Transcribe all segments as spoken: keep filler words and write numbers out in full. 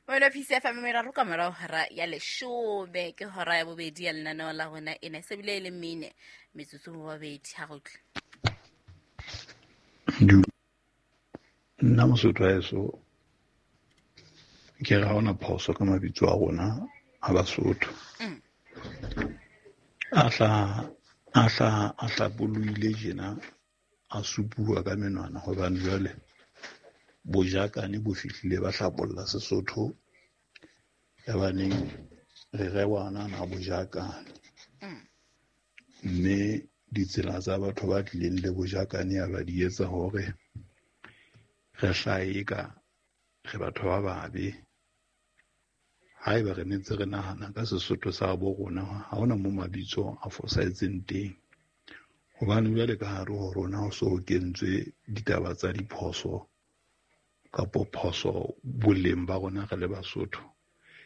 Wena P C F M meraro ka morao hora ya leshome ke hora ya bobedi ya lenaneo la rona ena se bile e le mene metsotso mo babedi ha re utlwe. Nna Mosotho wa heso ke re ha hona phoso ka mabitso a rona a Basotho. Mm. A hla a hla a hlabollohile tjena a supuwa ka menwana hobane jwale bojakane bo fihlile ba hlabolla Sesotho ya baneng re rewana na bojakane. Mm. Mme ditsela tsa batho ba tlileng le bojakane ya ba di etsa hore re hlahe ka re batho ba babe. Haeba re ne ntse re nahana ka Sesotho sa bo rona, ha hona mo mabitso a fosahetseng teng. Hobane jwale ka hare ho rona ho so kentswe ditaba tsa diphoso kapo phoso boleng ba rona re le Basotho.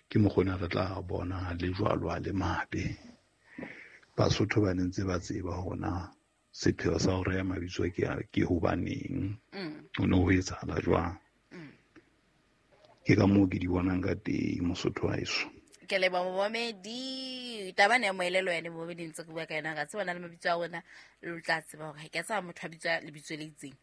Ke mokgona re tla bona le jwalo a le mabe. Basotho ba ne ntse ba tseba hore na sepheo sa ho reha mabitso ke a, ke hobaneng. Mm. Ho ne ho etsahala jwang. Mm. Ke ka moo ke di bonang ka teng Mosotho wa heso. Ke leboha momamedi. Taba ena ya moelelo yane momamedi ntse re bua ka yona, ra tseba na le mabitso a rona, le tla tseba hore ha ke a tseba motho a bitswa lebitso le itseng.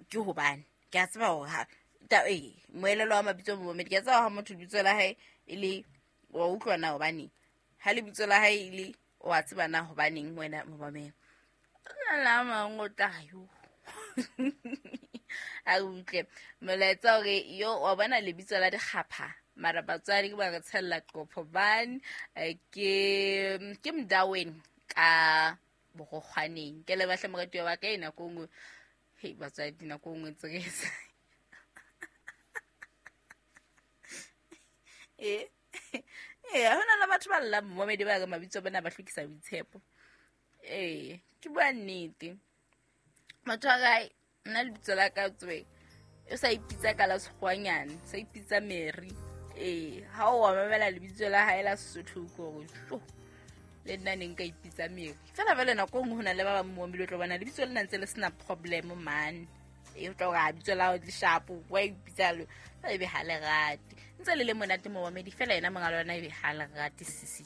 Ke hobane ke a tseba hore ha ta, eh, moelelo wa mabitso momamedi, ke a tseba ha motho lebitso la hae e le wa utlwa na hobaneng. Ha lebitso la hae e le wa tseba na hobaneng wena momamedi. La mang o tla yo. A utlwe molaetsa hore yo wa bona lebitso la dikgapha mara batswadi ke ba re tshella qopho bane, eh, ke, ke Mdaweni ka Borokgwaneng. Ke le bahle moratuwa wa ka e nako nngwe. Hei, batswadi nako nngwe ntse re etsa. Eh, eh, ha hona le batho ba llang momamedi ba re mabitso a bona ba hlokisa boitshepo. Eh, ke bua nnete. Motho wa kae, nna lebitso la ka tswe, o sa ipitsa ka la sekgwanyane, sa ipitsa Mary. Eh, ha o wa mamela lebitso la hae la Sesotho o utlwe hore, tjo, le nna ne nka ipitsa Mary. Fela jwale nako e nngwe ho na le ba bang mo o tlo bona lebitso lena ntse le sena problem man. E o tla hore ha lebitso la hao le sharp, wa ipitsa lo, fela ebe ha le rate. Ntse le le monate momamedi, fela yena monga lona ebe ha le rate sisi.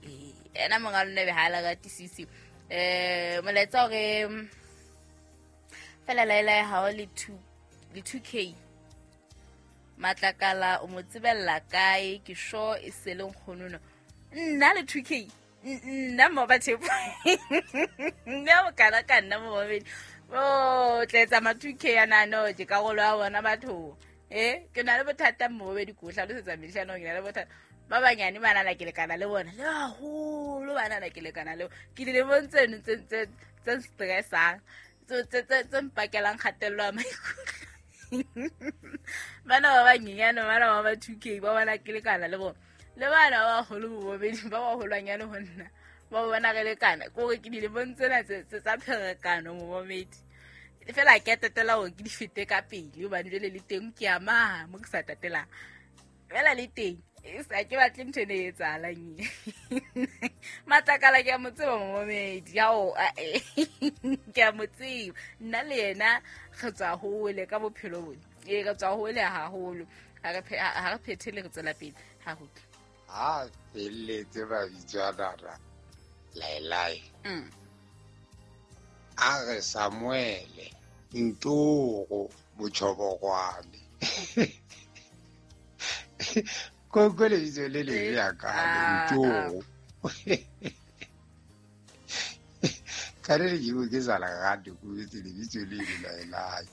Eh, yena monga lona ebe ha le rate sisi. Eh, molaetsa hore fela laela ya hao le two, le two K. Matlakala o mo tsebella kae? Ke sure e se le nkgono no. Nna le two K. Nna mo ba tshepo. Nna o kana ka nna mo babedi. Oh, tla etsa ma two K ana no, ke karolo ya bona batho. Eh, ke na le bothata mo babedi ko hlalosetsa mehlano ke na le bothata. Ba banyane ba nana ke lekana le bona. Le haholo ba nana ke lekana le bona. Ke dilemong tseno tse, tse, tse stressang. Tse, tse, tse, tse mpakelang kgatello ya maikutlo. Bana ba banyenyane, bana ba ba two K, ba bona ke lekana le bona. Le bana ba baholo bo bobedi, ba baholwanyane ho nna, ba bona re lekana. Ke hore ke dilemong tsena tse, tse tsa pherekano momamedi. Fela ke a tatela hore ke di fete ka pele, hobane jwale le teng ke a maha mo ke sa tatelang. Fela le teng, e sa ke batle ntho ena e etsahalang e. Matlakala ke a mo tseba momamedi, ao, a, e. Ke a mo tseba. Nna le yena re tswa hole ka bophelo bona. Ee, re tswa hole haholo. Ha re phe-, ha, ha re phethele, re tswela pele. Ha re utlwe. Ha felletse mabitso a nana, laelae. Mm. A re Samuele, Ntoro, Botjhobokwane. Ko ko lebitso le lebe Eh, ya ka, ah, Ntoro. ah. Ka re ke bue ke sa le rate, ko betse lebitso le le laelae.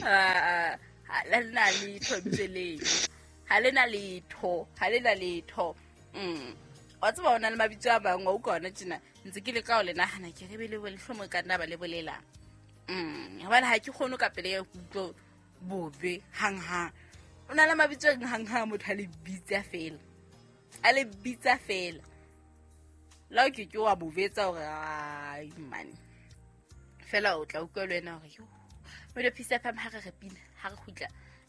Ah, ah, ha le na letho lebitso leo. Ha le na letho, ha le na letho. Mm. Wa tseba ho na le mabitso a mang, wa utlwa hona tjena, ntse ke leka ho le nahana, ke re be le bo lehlomo ka nna ba le bolelang. Mm. Hobane ha ke kgone ka pele ya kutlwa bobe hanghang. O na le mabitso a hanghang motho a le bitsa fela. A le bitsa fela. La o ke ke wa bobetsa hore, ai, man. Fela o tla utlwa le wena hore, yo. Mmino Peace F M ha re re pina, ha re kgutla,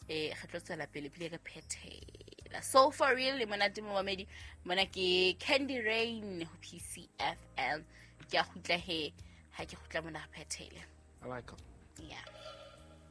eh, re tlo tswela pele pele re phethela. So for real le monate momamedi, mona ke Candy Rain ho P C F M. Ke a kgutla he, ha ke kgutla mona re phethele. I like her. Yeah.